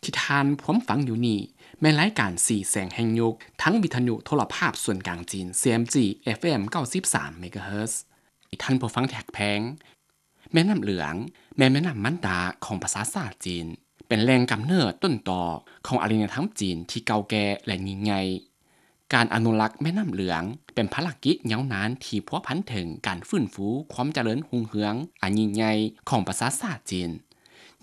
ທີ່ທ່ານພວມຟັງຢູ່ນີ້ ແມ່ນລາຍການສີແສງແຫ່ງຍຸກ ທາງວິທະຍຸໂທລະພາບສ່ວນກາງຈີນ CMG FM ເກົ້າສິບສາມ MHz. ທ່ານຜູ້ຟັງທີ່ຮັກແພງ, ແມ່ນ້ຳເຫຼືອງ ແມ່ນແມ່ນ້ຳມານດາຂອງປະຊາຊາດຈີນ, ເປັນແຫຼ່ງກຳເນີດຕົ້ນຕໍຂອງອາລະຍະທຳຈີນທີ່ເກົ່າແກ່ ແລະ ຍິ່ງໃຫຍ່. ການອະນຸລັກແມ່ນ້ຳເຫຼືອງ ເປັນພາລະກິດຍາວນານທີ່ພົວພັນເຖິງການຟື້ນຟູຄວາມຈະເລີນຮຸ່ງເຮືອງອັນຍິ່ງໃຫຍ່ຂອງປະຊາຊາດຈີນ.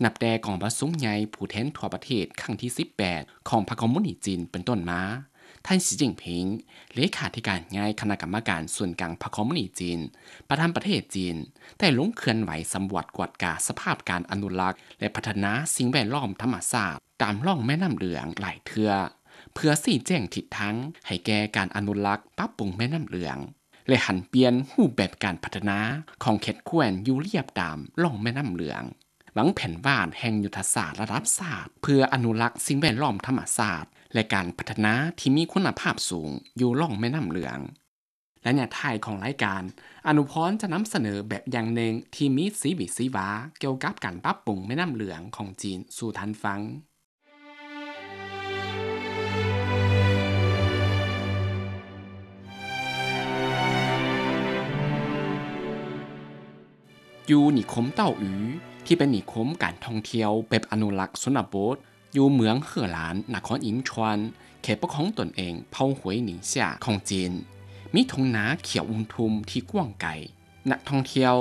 ນັບແຕ່ກອງປະຊຸມໃຫຍ່ຜູ້ແທນທົ່ວປະເທດຄັ້ງທີສິບແປດຂອງພັກຄອມມູນິດຈີນເປັນຕົ້ນມາ, ທ່ານ ສີຈິ້ນຜິງ ເລຂາທິການໃຫຍ່ຄະນະກຳມະການສູນກາງພັກຄອມມູນິດຈີນ ປະຈຳປະເທດຈີນ ໄດ້ລົງເຄື່ອນໄຫວສຳຫຼວດກວດກາສະພາບການອະນຸລັກ ແລະ ພັດທະນາສິ່ງແວດລ້ອມທຳມະຊາດຕາມລ່ອງແມ່ນ້ຳເຫຼືອງຫຼາຍເທື່ອ ເພື່ອຊີ້ແຈງທິດທາງໃຫ້ແກ່ການອະນຸລັກປັບປຸງແມ່ນ້ຳເຫຼືອງ ແລະ ຫັນປ່ຽນຮູບແບບການພັດທະນາຂອງເຂດແຂວງຢູ່ລຽບຕາມລ່ອງແມ່ນ້ຳເຫຼືອງ, ວາງແຜນວາດແຫ່ງຍຸດທະສາດລະດັບຊາດເພື່ອອະນຸລັກສິ່ງແວດລ້ອມທຳມະຊາດ ແລະ ການພັດທະນາທີ່ມີຄຸນນະພາບສູງຢູ່ລ່ອງແມ່ນ້ຳເຫຼືອງ. ໄລຍະທ້າຍຂອງລາຍການ, ອະນຸພອນຈະນຳສະເໜີແບບຢ່າງໜຶ່ງທີ່ມີຊີວິດຊີວາກ່ຽວກັບການປັບປຸງແມ່ນ້ຳເຫຼືອງຂອງຈີນສູ່ທ່ານຟັງ. ຢູ່ນິຄົມເຕົ້າອູ ທີ່ເປັນນິຄົມການທ່ອງທ່ຽວແບບອະນຸລັກຊົນນະບົດ ຢູ່ເມືອງເຮີຫຼານ ນະຄອນອິນຊວນ ເຂດປົກຄອງຕົນເອງເຜົ່າຫວຍໜິງຊຽຂອງຈີນ, ມີທົ່ງນາຂຽວອຸມທຸ່ມທີ່ກວ້າງໄກ. ນັກທ່ອງທ່ຽວ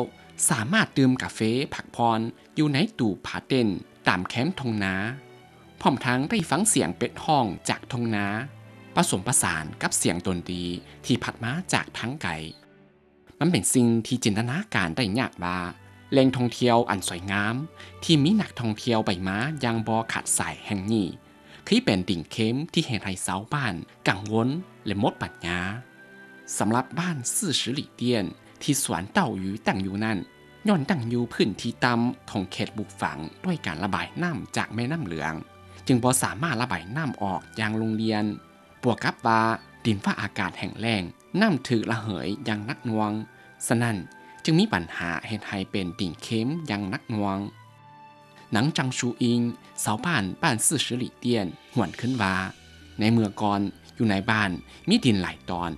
ສາມາດດື່ມກາເຟພັກຜ່ອນຢູ່ໃນຕູ້ຜາເຕັນຕາມແຄມທົ່ງນາ, ພ້ອມທັງໄດ້ຟັງສຽງເປັດຮ້ອງຈາກທົ່ງນາ ປະສົມປະສານກັບສຽງດົນຕີທີ່ພັດມາຈາກທາງໄກ. ມັນເປັນສິ່ງທີ່ຈິນຕະນາການໄດ້ຍາກວ່າ ແຫຼ່ງທ່ອງທ່ຽວອັນສວຍງາມທີ່ມີນັກທ່ອງທ່ຽວໄປມາຢ່າງບໍ່ຂາດສາຍແຫ່ງນີ້ ຄືເປັນດິນເຄັມທີ່ເຮັດໃຫ້ຊາວບ້ານກັງວົນ ແລະ ໝົດປັນຍາ. ສຳລັບບ້ານຊື່ສຣີລີຕຽນ ທີ່ສວນເຕົ້າອູຕັ້ງຢູ່ນັ້ນ ຍ້ອນຕັ້ງຢູ່ພື້ນທີ່ຕ່ຳຂອງເຂດບຸກຝັງດ້ວຍການລະບາຍນ້ຳຈາກແມ່ນ້ຳເຫຼືອງ ຈຶ່ງບໍ່ສາມາດລະບາຍນ້ຳອອກຢ່າງໂລ່ງລ່ຽນ. ບວກກັບວ່າດິນຟ້າອາກາດແຫ້ງແລ້ງ, ນ້ຳຖືກລະເຫີຍຢ່າງໜັກໜ່ວງ, ສະນັ້ນຈຶ່ງມີບັນຫາເຮັດໃຫ້ເປັນດິນເຄັມຢ່າງໜັກໜ່ວງ. ນາງ ຈາງຊູອິງ ຊາວບ້ານບ້ານຊື່ສຣີລີຕຽນ ຫວນຄືນວ່າ ໃນເມື່ອກ່ອນ ຢູ່ໃນບ້ານມີດິນຫຼາຍຕອນ